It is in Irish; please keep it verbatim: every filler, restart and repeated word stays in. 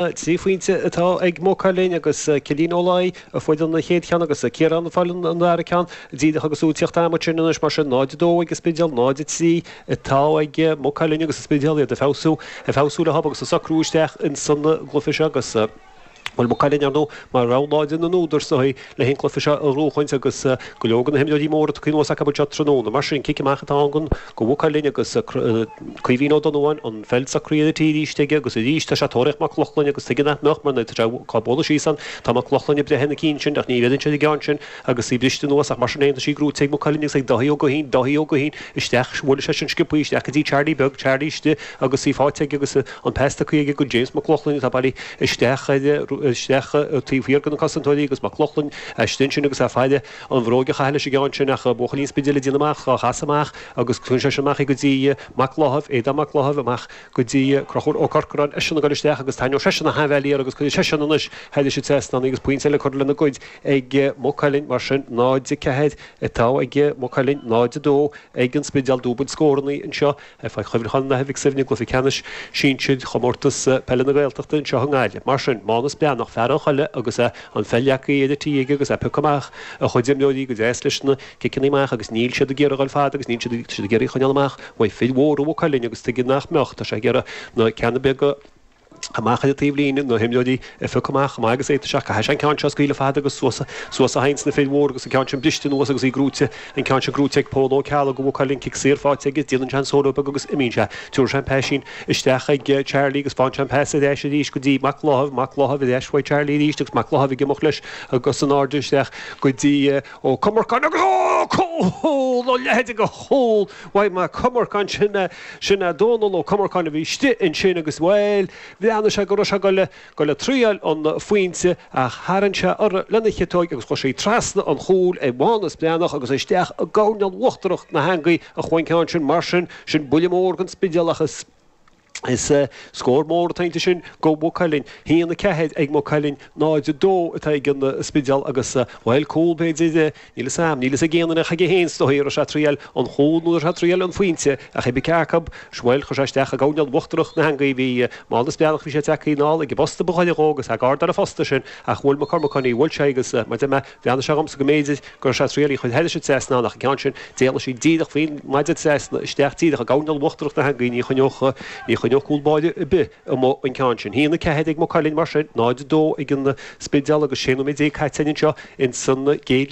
Trí phointe atá ag Maigh Cuilinn agus Cillian Ó Laoi a fuair an chéad cheann agus Ciarán a fuair an dara ceann. Díreach agus tú ag tíocht ama sin anois mar sin náid a dó ag an Spidéal, náid a trí atá ag Maigh Cuilinn agus an Spidéal iad ag feabhsú, ag feabhsú le agus ag socrú isteach insan gcluiche seo agus Bhuel Maigh Cuilinn ar ndóigh mar rogha láidir na n-údar is dóigh le an cluiche seo a bhuachaint agus go leor de na himreoirí móra tugtha anuas acu anseo tráthnóna. Mar sin cic amach atá ann go Mhaigh Cuilinn agus Caoimhín Ó Donnabháin an pheil socraithe ar an tí arís aige agus arís tá sé ag tóraíocht Mac Lochlainn agus tuige nach mbeadh mar tá sé cá bualadh síos ann tá Mac Lochlainn ag breith na cinn sin ach ní bheireann sé an ceann sin agus í briste anuas ach mar sin tá sí gnóite ag Maigh Cuilinn agus ag Dáithí Ó Guithín Dáithí Ó Guithín isteach bhuail sé sin sciobtha isteach go dtí Charlie beag Charlie istigh agus í faighte aige agus an pas tugtha aige go James Mac Lochlainn atá bailithe isteach isteach taobh thiar de na cosantóirí agus Mac Lochlainn istigh sin agus é faire an bhróg a chaitheamh leis an gceann sin ach buachaillí an Spidéil ag déanamh amach á chas amach agus tugann sé sin amach go dtí Mac Láthaimh Aodán Mac Láthaimh amach go dtí Conchúr Ó Corcoráin eisean ag dul isteach agus tarraingeoidh seisean a hainmheáil agus cuirfidh seisean anois thairis an trasnán agus pointe eile curtha lena gcuid ag Maigh Cuilinn mar sin náid a ceathair atá ag Maigh Cuilinn náid a dó ag an Spidéal dúbailt scóranna anseo ar Pháirc Chuimhneacháin an Athar Mhic Suibhne i gcluiche ceannais sinsir chomórtas peile na Gaeltachta anseo i nGaillimh. Mar sin Mánas Breathnach fear an choille agus an pheil leagtha ar an tí aige agus é ag piocadh amach a chuid imreoirí go deas leis na ciceanna amach agus níl siad ag iarraidh dul fada agus níl siad ag iarraidh choinneáil amach uaidh fir mhóra Mhaigh Cuilinn agus tuige nach mbeadh tá sé ag iarraidh na ceanna beaga amach ar an taobhlíne na himreoirí ag piocadh amach amach agus é isteach caithfidh sé an ceann seo a scaoileadh fada agus suas suas a théann na fir mhór agus an ceann sin briste anuas agus í gnóite an ceann sin gnóite ag Pól Ó Ceallaigh go Mhaigh Cuilinn cic saor faighte aige déanann sé an solo beag agus imíonn sé Tuair sé an paisín isteach ag Charlie agus faigheann sé an pas ar ais arís go dtí Mac Láthaimh Mac Láthaimh ar ais chuig Charlie arís agus Mac Láthaimh ag imeacht leis agus an airde isteach go dtí Ó Comarcáin agus ó cúl ó leithéid go chúl uaidh Mac Comarcáin sin sin é Dónal Ó Comarcáin a bhí istigh ansin agus bhuel bhreathnaigh sé go raibh sé go go le triail an phointe ach tharraing sé orthu lena chiotóig agus chuir sé trasna an chúil ag Mánas Breathnach agus isteach i gcoirnéal uachtarach na heangaí a chuaigh an ceann sin mar sin sin buille mór don Spidéal ach is Is scór mór atá sin go Maigh Cuilinn haon a ceathair ag Maigh Cuilinn náid a dó atá ag an Spidéal agus bhuel cúl b'fhéidir níl a fhios agam níl a fhios ag aon duine chuige féin is dóigh raibh sé triail an chúl nó raibh sé triail an phointe ach ag ceacu bhuel chuir sé isteach i gcoirnéal uachtarach na heangaí bhí Mánas Breathnach bhí sé tagtha anall ag an bposta ba chóir dhó agus ag ardar a phosta sin ach bhuail Mac Cormacáin í bhuail sé agus mar de mé bhreathnaigh sé dhomsa go mb'fhéidir go raibh sé triail í chur thairis an trasnán ach an ceann sin d'éalaigh sí díreach faoin maide trasna isteach díreach i gcoirnéal uachtarach na heangaí ní choinneodh ní choinneodh cúl báire ar bith amuigh an ceann sin. Haon a ceathair ag Maigh Cuilinn mar sin náid a dó ag an Spidéal agus sé nóiméad déag caite anseo in san gcéad